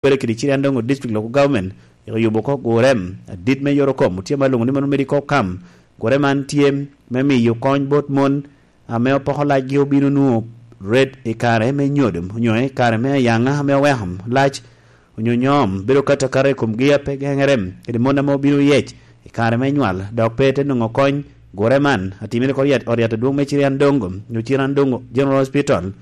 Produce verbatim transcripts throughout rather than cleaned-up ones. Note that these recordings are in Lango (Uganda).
Kwere kede Chiriandongo District Local Government, rik oyubo oko gurem adit me yorokom, otye ma lwoŋo ni mano medical camp. Gure man tye me miyo kony bot mon ame opoko lacgi obino nwoŋo red i kare me nyodo, onyo i kare me ayaŋa ame oweko lac, onyo nyom bedo kato akata i komgi a pe geŋere, kede mon ame obino yec i kare me nywal, dok pe te nwoŋo kony. Gure man atimere oko i ot yat adwoŋ me Chiriandongo, onyo Chiriandongo General Hospital,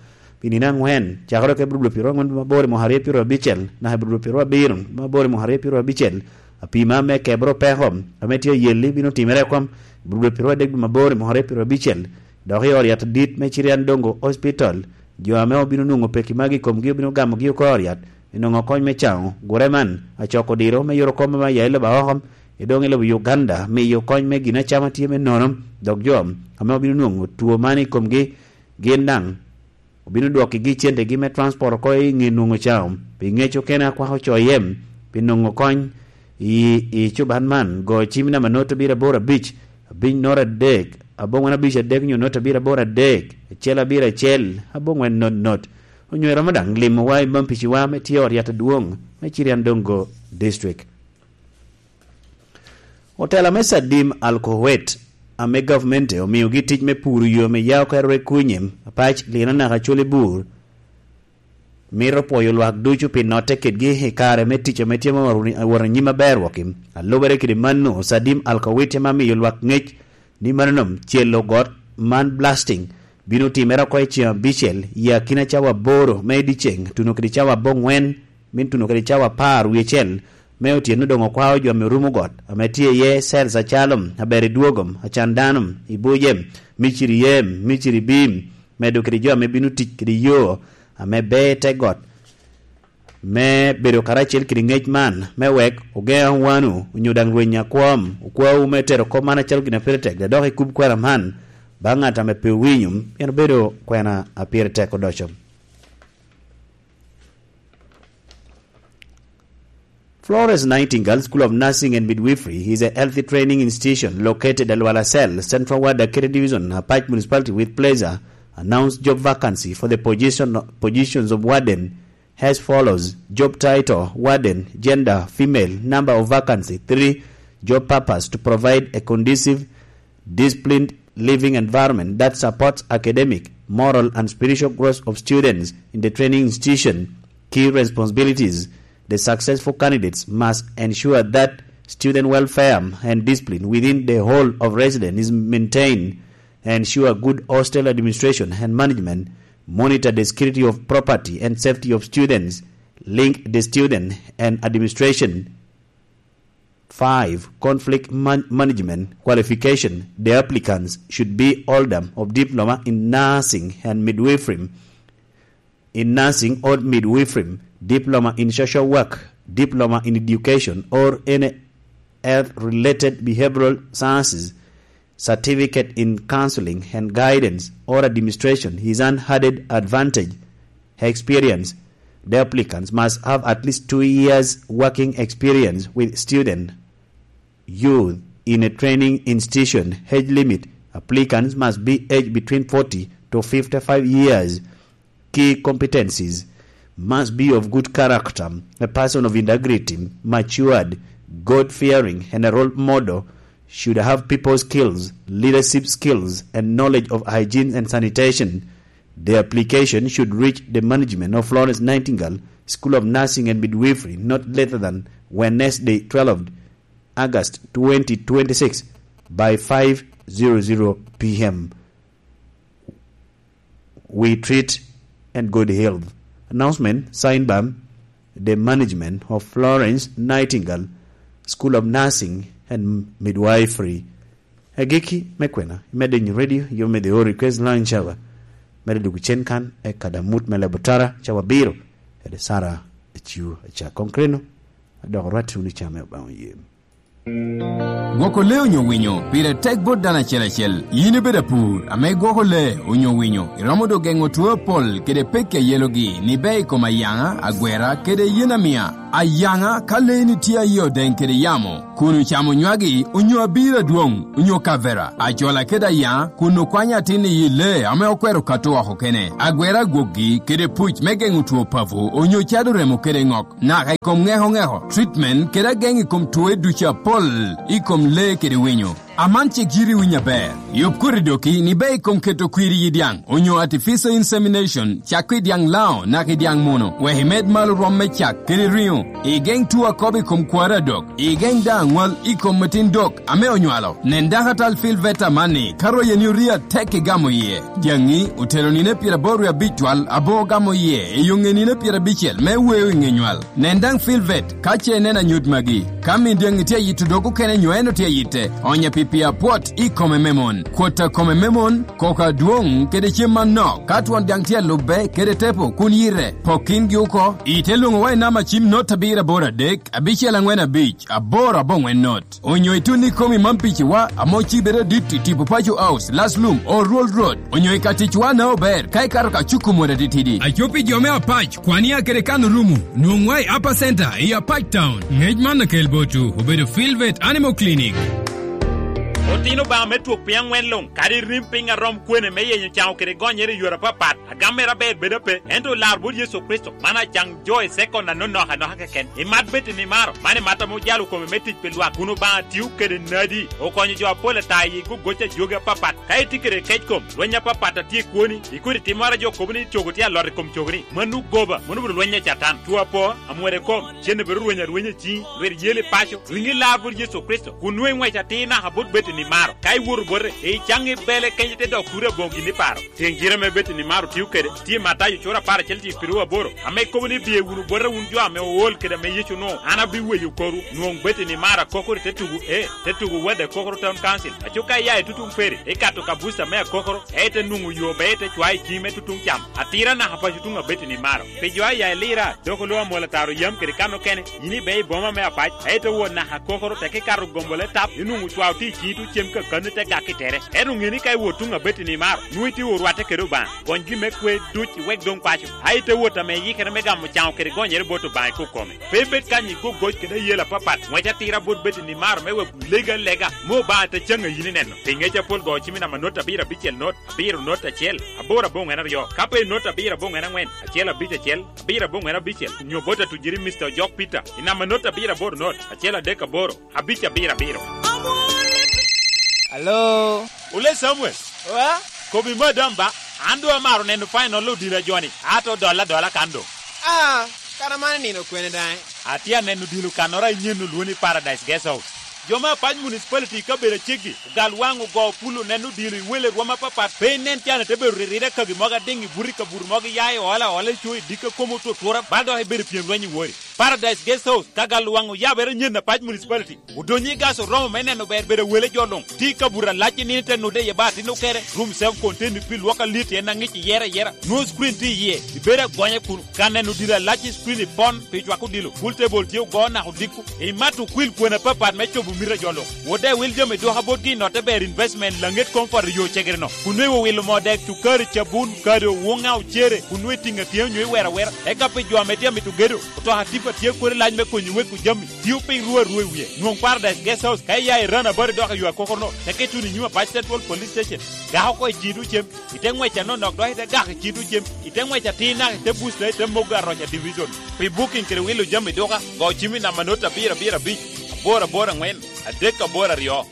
pi nino aŋwen, cakere oko i Bulobulo pyeraryo angwen dwe me aboro i mwaka aryo pyeraryo abicel, naka i Bulobulo pyeraryo abiro dwe me aboro i mwaka aryo pyeraryo abicel. Apima me kebere opeko ame tye ayelli bino timere oko i Bulobulo pyeraryo adek dwe me aboro i mwaka aryo pyeraryo abicel, dok i ot yat adit me Chiriandongo Hospital. Jo ame obino nwoŋo peki magi i komgi obino gamogi oko i ot yat, i nwoŋo kony me caŋo. Gure man acoko diro me yorokom ame aya i lobo a oko, i doŋ i lobo Uganda, miyo kony me gin acama tye me nono, dok jo ame obino nwoŋo two man i komgi gin daŋ obino dwokkigi centegi me transport oko i ŋe nwoŋo caŋo. Pi ŋec okene akwako coye pi nwoŋo kony i, i cuban man, go cim namba not abiro aboro abic, abic not adek, abongwen abic adek onyo not abiro aboro adek, acel abiro acel, abongwen not not. Onyo iromo daŋ limowa i Mampiciwa ame tye ot yat adwoŋ me Chiriandongo District. Otela me Sadim Al Kuwait, ame gavmente omiogi tic me puro yo ame ya oko i Rekunye, Apac, Lina naka Colibur, mito pwoyo lwak ducu pi notte kedgi i kare me tic ame tye ma wot anyim aber wok. A lubere kede mano, Sadim Al Kuwait ame amiyo lwak ŋec ni mano nom celo got man, blasting, bino timere oko i ceŋ abicel i akina cawa aboro me dyeceŋ tuno kede cawa abongwen, min tuno kede cawa apar wie acel me otyeno doŋ okwao jo ame rumo got ame tye iye, cels acalo, aber i dwogom, acan dano, i buce, miciri yem, miciri bim, medo kede jo ame bino tic kede yo ame ber te got, me bedo karacel kede ŋec man, me wek ogeŋ aŋwanu, onyo daŋ rweny akwom, okwawu me tero kop man acalo gin a pire tek, dok ikub kwena man baŋ ŋat ame pe owinyo, pien obedo kwena a pire tek odoco. Florence Nightingale School of Nursing and Midwifery is a health training institution located at Luala Cell, Central Ward, Akete Division, Apac Municipality, with pleasure announced job vacancy for the position, positions of warden as follows. Job title, warden, gender, female, number of vacancy, three. Job purpose, to provide a conducive, disciplined living environment that supports academic, moral, and spiritual growth of students in the training institution. Key responsibilities: the successful candidates must ensure that student welfare and discipline within the whole of residence is maintained, ensure good hostel administration and management, monitor the security of property and safety of students, link the student and administration. Five, conflict man-, management qualification. The applicants should be holder of diploma in nursing and midwifery, in nursing or midwifery, diploma in social work, diploma in education or any health-related behavioral sciences, certificate in counseling and guidance or administration is an added advantage. Experience. The applicants must have at least two years working experience with student, youth in a training institution. Age limit. Applicants must be aged between forty to fifty-five years. Key competencies: must be of good character, a person of integrity, matured, God-fearing, and a role model, should have people skills, leadership skills, and knowledge of hygiene and sanitation. The application should reach the management of Florence Nightingale School of Nursing and Midwifery not later than Wednesday, twelfth August twenty twenty-six, by five zero zero p m. We treat and good health. Announcement signed by the management of Florence Nightingale School of Nursing and Midwifery. Agikki me kwena, imedde nyo radio, yo me the All Request Line Shower. Medde dwogo cen kan, e kada mut me lebo tara, cawa abiro, kede Sara Aciu Acak. Konkreno, adok orwat wunu i cam me Obaŋa oye. Gwoko lee onyo winyo pire tek bot dano acel acel. Yin ibedo apur ame igwoko lee onyo winyo, iromo dok geŋo two apol kede pekki a yelogi ni bea i kom ayaŋa, agwera, kede yen amia. Ayaŋa ka leeni tye aye odeŋ kede yamo, kun ocamo nywagi, onyo abiro adwoŋ, onyo kavera, acola kede ayaŋa, kun okwanyo atin i yi lee ame okwero kato oko kene, agwero agwokgi kede puc me geŋo two papo, onyo cado remo kede ŋok, naka i kom ŋeko ŋeko, treatment kede ageŋ i kom twoe ducu apol i kom lee kede winyo. Aman cik yiti winyo aber. Yub koti doki ni be i kom keto kwir i dyaŋ, onyo artificial insemination, cak i dyaŋ lao naka i dyaŋ muno, wek imed malo rwom me cak kede riŋo. Igeŋ two akobo i kom kwaro adok. Igeŋ daŋ aŋwal i kom metin dok ame onywalo. Nen dakatal Phil Veta amanni, ka royeni orie atek igamo iye. Dyaŋi otelo nino pyeraboro wie abic twal, abo ogamo iye i yo ŋe nino pyerabicel me weo i ŋe nywal. Nen daŋ Phil Vet ka ce ineno anyut magi. Ka min dyaŋi tye ayito dog okene nyo en otye ayitte, onye pi pi apwot i kome me mon. Kwot a kome me mon, koko adwoŋ kede cem manok, ka twon dyaŋ tye alubbe kede tepo kun yite, pok kingi oko. Ite lwoŋo wa i namba cim not abiro aboro adek, abicel aŋwen abic, aboro aboŋwen not. Onyo itun i komi man piciwa, ame ocibere dit i tipo Paco House, Last Lum, Oruol Road. Onyo i ka ticwa na ober, ka ikato ka cuku mot atitidi. Aco pi jo me Apac, kwania kede kan orumo, nwoŋwa i Upper Center, i Apac Town. Ngec man akel botwu, obedo Filvet Animal Clinic. Otino Obaŋa me twok piny aŋwen luŋ, kadi rim piny arom kwene me yenyo caŋo kede gonyere i yore apapat, agam mere aber bedo ape, ento olar bot Yecu Kricito, man acaŋ jo i sekon anonok anoka keken. Imat bed i nimaro, man imat ame ojalo kome me tic pi lwak, kun Obaŋa tio kede nadi, okonyo jo apol ata i gogoc a jogi apapat. Ka itye kede kec kom, lweny apapat a tye i kwoni, ikodi timmoro a jo kobo ni cogo tye alot i kom cogoni, mano goba, mano obedo lweny a Catan. Two apo, amwode kom, cen obedo rweny arwenya i ciŋi, lwit yel i paco, riŋi lar bot Yecu Kricito, kun nwoŋo iŋwec atir naka bot bed i nimaro. Ka iwoto bote, icaŋ ibele kenyo te dok kuri aboŋo gin iparo. Tyeŋ cire ame Betani maro tio kede, tye i Matayo cura apar acel tye i piru aboro, ame kobo ni, "Biye wunu bota wun jo ame ool kede ame Yecu onwoŋo, an abiweyo korwu." Nwoŋ Betani maro akokoro i te tugo, ee, te tugo Wad Akokoro Town Council. Aco ka iya i tutuŋ Peri, ikato ka buca me akokoro, ka ite nwoŋo yo, be ite cwayo i ciŋi me tutuŋ cam. Atira naka paco tuŋ a Betani maro. Pi jo a ya i Lira, dok oloo amwol ataro yam kede kan okene, yin ibe i boma me Apac, ka ite wot naka akokoro, teke ikato gombo le tap, inwoŋo cwao tye i ciŋi tuŋ cem kakano ite gak i tere. Ento ŋe ni ka iwot tuŋ a Betani maro, nwoŋo itye orwatte kede Obaŋa. Gony gin me kwe duc iwek doŋ paco. A ite wot ame iyikere me gamo caŋo kede gonyere bot Obaŋa i kok kome. Pe ibed kany i gogoc kede ayela apapat, ŋwec atira bot Betani maro me wek lega lega, me Obaŋa te caŋ a yin ineno. Pi ŋec apol go cim i namba not abiro abicel not, abiro not acel, aboro aboŋwen aryo. Ka pe i not abiro aboŋwen aŋwen, acel abic acel, abiro aboŋwen abicel, nyo bot atujiri Mister Ojok Peter, i namba not abiro aboro not, acel adek aboro, abic abiro abiro. Alo? Ole Samuel. Wa? Kobi madam ba, an doŋ amaro neno final odila joni, ato dola dola kan doŋ. Ah, kara man nino kwene daŋ? Atye aneno odilo kannoro a inyen olwo ni Paradise Guest House. Jo me Apac Municipality i kabedo aceggi, ogal waŋ ogo pulo neno odilo i wele rwom apapat, pe inen can ite bedo ririre kagi mogo adiŋ i buto i kabuto mogo iya i ola ola i co i dikka komo otutura, bal dok ibedo pyem lweny i wori. Paradise Guest House, ka gal waŋ oyabere nyen Apac Municipality. Odonyo i gas oromo me neno ber bedo wele jo luŋ. Tye i kabuto alac i nino ite nude iye ba atin okere. Room self contained pi lwok alit en aŋic iyere ayera. Nwoŋo screen tye iye. Ibedo agonya kunu. Ka neno odilo alac i screen ipon pi cwako odilo. Pool table tye ogo naka odiko. Imato okwil kwena apapat me cobo mito a jo luŋ. Wode wil jami dwoka botgi i notte ber investment laŋet comfort i yo cegere-no. Kun nwoŋo iwilo moo dek, cukari, cabun, kado, woŋa, ocere, kun nwoŋo itiŋo atiŋa onyo iwero awera. Eka pi jo ame tye amito gedo, otoka tipa tye kodi lac me konyo weko jami. Tio piny rwo arwo i wie. Nwoŋ Paradise Guest House ka iya i Run About dok i yo akokoro-no, teke ituno i nyim Apac Central Police Station. Gak oko i ciŋ tuŋ cem, ite ŋwec anonok dok ite gak i ciŋ tuŋ cem, ite ŋwec atir naka ite buc dok ite mogo aroc a division. Pi booking kede wilo jami duka, go cim i namba not abiro abiro abic, aboro aboro aŋwen, adek aboro aryo.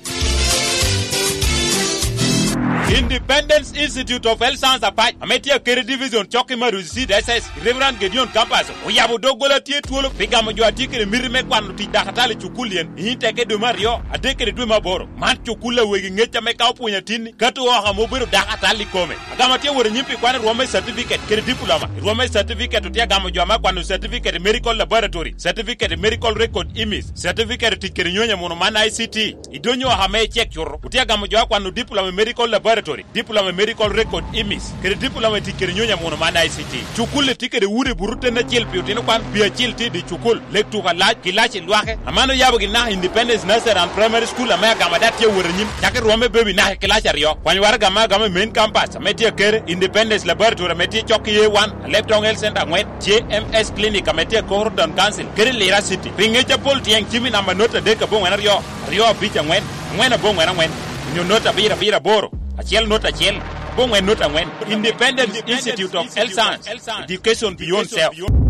Independence Institute of Health Science Apac, ame tye akeri division cok i Maruzi Seed S S, Reverend Gideon Campus, oyabo doggola tye twolo pi gamo jo a tye kede miti me kwano tic dakatali i cukul yen, i teke dwe me aryo, adek kede dwe me aboro. Man cukul a wegi ŋec ame ka opwonyo atinni, kato oko ame obedo dakatali i kome. Agamo atye wot anyim pi kwano rwom me certificate kede diploma. I rwom me certificate otye agamo jo ame akwano certificate i medical laboratory, certificate i medical record image, certificate i tic kede nyonyo amuno man I C T. I donyo oko ame icek cuto, otye agamo jo akwano diploma i medical laboratory. Laboratory, Diploma in Medical Record, imis, kede Diploma i tic kede nyonyo amuno man I C T. Cukul-li tye kede udi buto ten acel pi otino kwan, pi acil tye i dye cukul, lek tuko alac, kilaci lwake. Aman oyabo gin naka Independence Nursery and Primary School ame agama data tye awot anyim, cako i rwom me baby naka i kilaci aryo. Kwany waraga me agama i main campus ame tye akere, Independence Laboratory ame tye cok i A one, Leptong Health Center angwen, J M S Clinic ame tye i Koro Town Council, kede Lira City. Pi ngec apol tyeng cim i namba not adek aboŋwen aryo, aryo abic aŋwen, aŋwen aboŋwen aŋwen, onyo not abiro abiro aboro, acel not acel, aboŋwen not aŋwen. Independent Institute of Health Science, Education Beyond Self.